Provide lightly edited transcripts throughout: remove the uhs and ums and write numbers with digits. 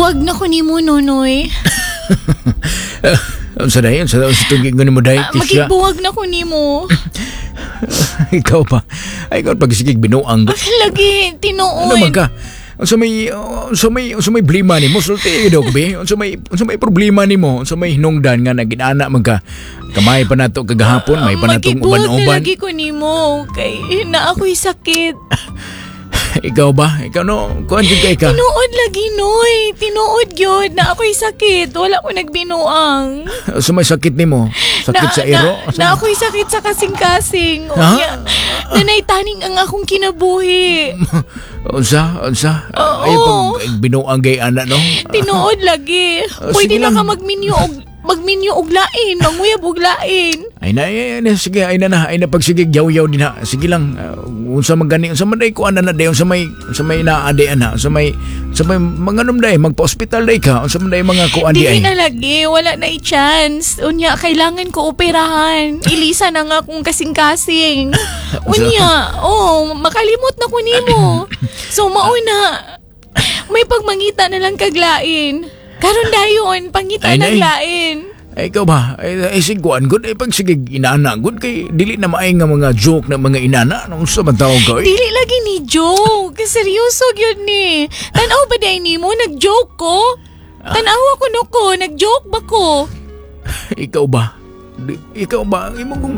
Makigbuwag na ko nimo, Nonoy. Unsa day? Unsa unsa tugig mo day, Tisha? Makigbuwag na ko nimo. Ikaw pa. Ay, ikaw pag sige binuang. Lagi, tinuod. Ano man ka? Unsa may problema nimo? Sulti daw be. Unsa may problema nimo? Unsa may hinungdan nga naginana man ka? Kamay pa nato kagahapon, may pa natong Makigbuwag na uban-uban. lagi ko nimo. Kay na ako'y sakit. Ikaw ba? Ikaw no, kuan jud kay ka. Tinuod lagi, Noy. Tinuod gyud na ako'y sakit. Wala ko nagbinuang. Unsa may sakit nimo? Sakit sa iro? Na ako'y sakit sa kasing-kasing. Ha? Unya, nanay taning ang akong kinabuhi. Unsa? Unsa? Oo. Ay pag binuang kay ana no. Tinuod lagi. Sige Pwede na lang. ka magminyo og lain, manguyab og lain. Ay na, ay, ay, sige, ay na na, ay na pagsigig yaw-yaw din ha. Sige lang, unsa man gani, unsa man day kuan na day, unsa may naa day ana, unsa may manganom day, magpa-ospital day ka, unsa man day mga kuan di Dili ay. na lagi, wala na i-chance. Unya, kailangan ko operahan. Ilisa na nga kung kasing-kasing. Unya, oh, makalimot na ko nimo. So, mauna, may pagmangita na lang kaglain. Karon dayon, pangita Ay, ng nay. lain. Ay ikaw ba? Ay, ay sige kuan gud, ay pagsigig inana gud kay dili na maay nga mga joke na mga inana, unsa man tawag ka? Dili lagi ni joke. Seryoso gyud ni. Tanaw ba day nimo nag-joke ko? Tanaw ako no ko, nag-joke ba ko? Ikaw ba? Ikaw ba? Imo kung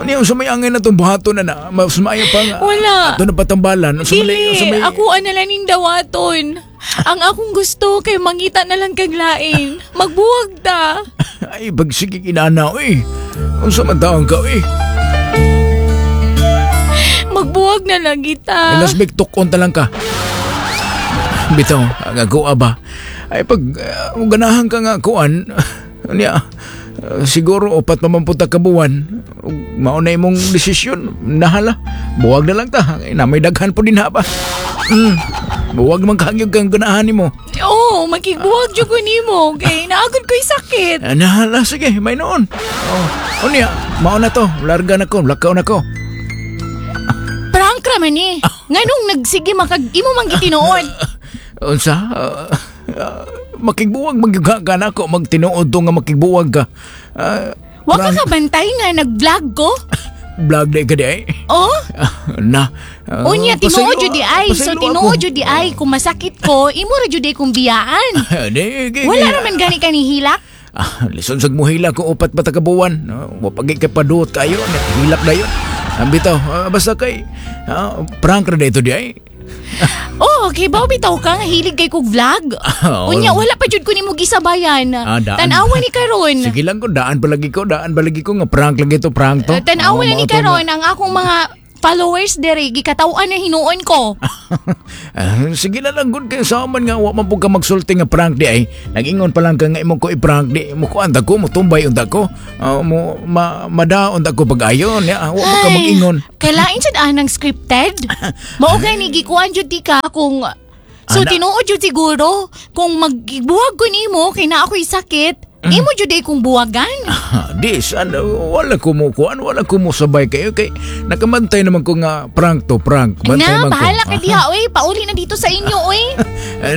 ano yung sa may angay na itong buhaton na na, mas maayo pa nga. Wala. Ato na patambalan. Unsa may- Dili, unsa may- ako ana lang ning dawaton. Ang akong gusto kay mangita na lang kaglain. Magbuwag ta. Ay, pagsigig inana, oy. Unsa man taong ka, oy. Magbuwag na lang kita. Ay, lasbik tukon ta lang ka. Bitaw, ang ako ba? Ay, pag ganahan ka nga kuan, niya, siguro upat pa man punta ka buwan, mao na imong desisyon, nahala. Buwag na lang ta. Ay, na may daghan po din ha ba? Buwag man kagyog kang ganahan nimo. Oo, makigbuwag jud ko nimo kay naagod ko'y sakit. Nahala, sige, may noon. Oh, unya, mao na to. Larga na ko, lakaw na ko. Prank ra man eh. Nganong nagsige makag imo man gitinuod. Unsa? Makigbuwag magyuga ka na ako, magtinuod to nga makigbuwag ka. Wa ka kabantay nga nag-vlog ko? Vlog di ka di ay. Oh? Na. Unya tinuod pasaylo- jud di ay. So pasaylo tinuod ako. jud di ay kung masakit ko, imo ra jud ay kong biyaan. Di, di, Wala di. ra man gani ka ni hilak. Lison sag muhila ko upat pa ta ka buwan. Wa pagi kay paduot kayo, hilak dayon. Ang bitaw, basta kay prank ra dito di ay. Oh, kay baw bitaw ka nga hilig kay kog vlog. Oo. Unya wala pa jud ko nimo gisabayan. Daan. Tan-awa ni karon. Sige lang ko, daan palagi ko nga prank lagi to, prank to. Tan-awa Oo, na ni mao to nga. karon ang akong mga followers dere gikataw-an na hinuon ko. Sige na lang gud kay sa man nga wa man pud ka magsulti nga prank di ay. Nagingon pa lang ka nga imong ko i-prank di mo kuan ta ko, mo tumbay unta ko. Mo madaon ta ko pag-ayon ya, wa man ka mag-ingon. Kailain sad anang scripted. Mao gani gikuan jud ti ka kung so tinuod jud siguro kung magbuwag ko nimo kay na ako'y sakit. Imo jud ay kong buwagan. Di san wala ko mo kuan, wala ko mo sabay kayo kay nakamantay naman ko nga prank to prank. Bantay Na, man ko. bahala ka diha oy. Pauli na dito sa inyo oy.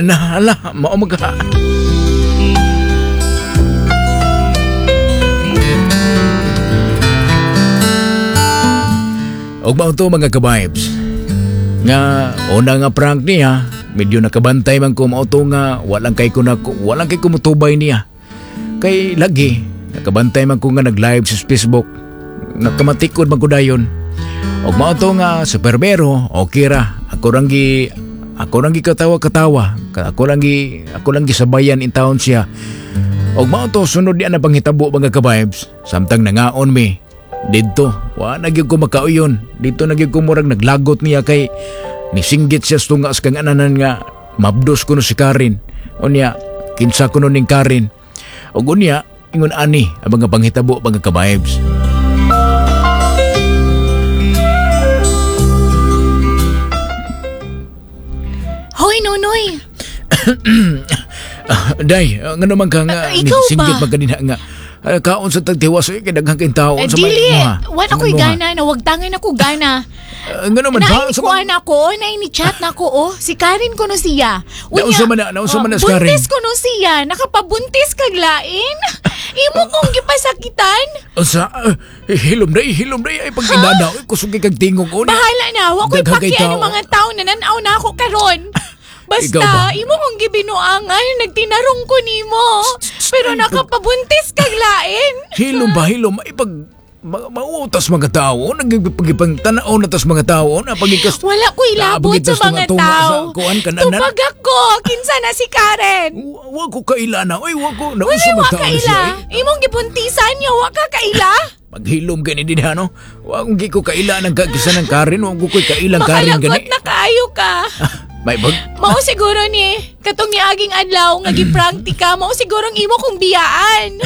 Na hala, mao man ka. Og mao to mga ka-vibes. Nga una nga prank niya, medyo nakabantay man ko mao to nga walang kay ko na walang kay kumutubay niya. Kay lagi nakabantay man ko nga nag-live sa Facebook. Nakamatikod man ko dayon. Og mao to nga sa perbero, okay ra. Ako rang gi katawa-katawa. Ako lang gisabayan in town siya. Og mao to sunod niya na panghitabo mga ka-vibes. Samtang nangaon mi didto, wa na gyud ko makauyon. Didto na gyud ko murag naglagot niya kay nisinggit siya sa tunga sa kang ananan nga mabdos kuno si Karen. Unya, kinsa kuno ning Karen. Og unya, ingon ani ang mga panghitabo mga ka-vibes. Hoy Nonoy. Day, ngano man ka nga Ikaw nisinggit ba? man kanina nga kaon sa tagtiwas kay daghang kay tao sa may Dili, imuha. wala Sa may ko'y imuha. gana, nawagtangan ako gana. Ngano man ba? Naay ni kuan ako, naay ni chat na ko oh. Si Karen kuno siya. Naunsa man na, naunsa man na si Karen? Buntis kuno siya, nakapabuntis kag lain. Imo kong gipasakitan. Unsa? Hilom day, hilom day ay pag inana, oy kusog kay kag tingog oh. Bahala na, wa ko'y Daghang kay paki tao. ang mga tao na nanaw na ako karon. Ikaw ba? Basta, imo kong gibinuangan, nagtinarong ko nimo. Pero nakapabuntis kag lain. Hilom ba, hilom ay pag mautas mga tao, nagpagipang tanaw na tas mga tao, na pagikas Wala ko'y labot Naabogit sa tas mga tunga-tunga tao. sa kuan kananan. Tubag ako, kinsa na si Karen. Wa ko kaila na, oy wa ko Wala nausa wa man tao na kaila. siya. eh. Imong gibuntisan niya, wa ka kaila. Paghilom gani din ha, no? Wa akong gi ko kaila ng kagisa ng Karen, wa ko ko'y kailang Karen Makalagot gani. na kaayo ka. May bag Mao siguro ni, katong niaging adlaw nga giprank ti ka, mao siguro ang imo kong biyaan.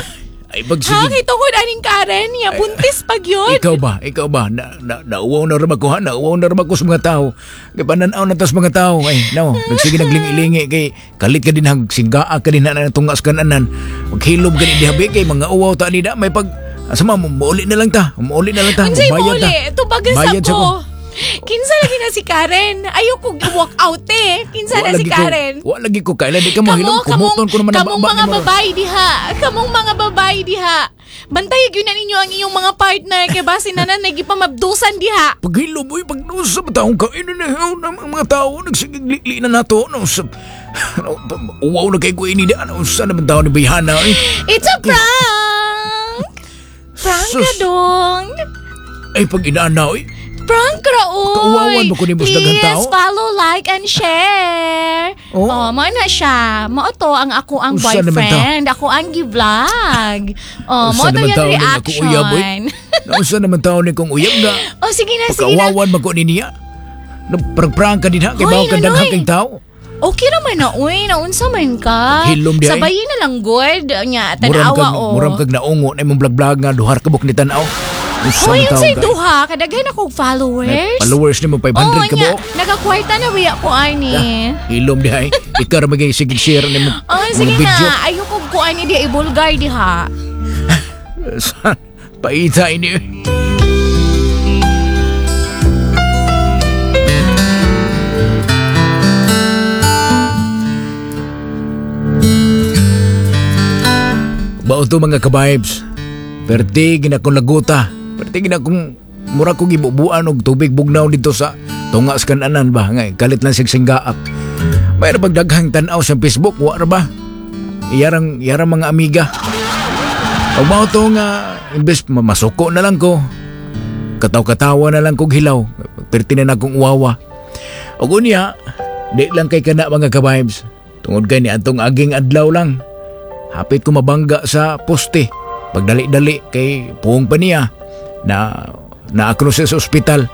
ay pag Ha, sige. kay tungod aning Karen, ya buntis pag yun. Ikaw ba? Ikaw ba? Na, na, nauwaw na rin ako ha? Nauwaw na rin ako sa mga tao. Kay pananaw na tas mga tao. Ay, no. Nagsige naglingi-lingi kay kalit ka din hang singgaa ka din na tungas kananan. Maghilom ka din dihabi kay mga uwaw ta nida. May pag asa ma, muuli na lang ta. Muuli na lang ta. Unsay Mubayad ta. muli, tubagan sa Bayad sa ko. ko. Kinsa lagi na si Karen? Ayaw ko walk out eh. Kinsa na Wa si lagi ko- Karen? Wa lagi ko kailan di ka mahilom. Kumuton ko naman ang kamong baba mga ni mo. babae diha. Kamong mga babae diha. Bantay gyud na ninyo ang inyong mga partner kay base na na nagipamabdusan diha. Paghilom, uy, pagnusa, taong kain na na, ang mga tao, nagsigigli na nato, no, sa, no, uwaw na kay ko ini na, ano, sa naman tao ni Bayhana, eh. It's a prank! Prank Sus. ka dong! Ay, pag inaana, uy, Prank ra oy! Kauwawan ba ko ni Boss daghang Please tao? follow, like, and share! Oo. Oh, mao na siya. Mao to ang ako ang Usa naman boyfriend. Ako ang gi-vlog. Oh, mao Usa to naman yung tao ni ako uyab, uy. reaction. Nausa naman tao ni kong uyab nga, Oh, sige na, sige na. pagkawawan ba ko ni niya? Nagprang-prang ka din ha, kay Hoy, bawo ka Nonoy. daghang kang tao. Okay naman na, uy. Naunsa man ka. Hilom di ay. Sabayin na lang, good. Nya, Muram tanawa, kag, oh. muram kag naungo na imong vlog-vlog nga, duhar ka buk ni tanaw. Usa Hoy, man tao unsay ka. duha. Kadaghan akong followers. Followers ni mo, 500 Oo, ka nya. buok. Nagakwarta na biya ko, ani. Hilom di ay. Ikaw ra maging sige share ni mo. Oh, mga sige video. na. Ayoko ko ani di ibulgar diha. Paita ini. Bao to mga kabibes. Perti ginakong laguta. Perti ginakong mura kong gibubuan og tubig bugnaw dito sa tunga sa kananan ba nga kalit lang sig singgaak. Mayroon bang daghang tan-aw sa Facebook wa ra ba? Iyarang iyarang mga amiga. Pag mao to nga imbes masuko na lang ko. Kataw-katawa na lang kog hilaw. Perti na akong uwawa. Og unya, di lang kay kana mga kabibes. Tungod kay ni atong aging adlaw lang. Hapit ko mabangga sa poste. Pagdali-dali kay puong pa niya na naakro siya sa ospital.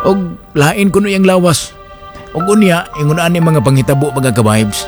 Og lain ko iyang lawas. Og unya, ingon ani mga panghitabo mga kabibes.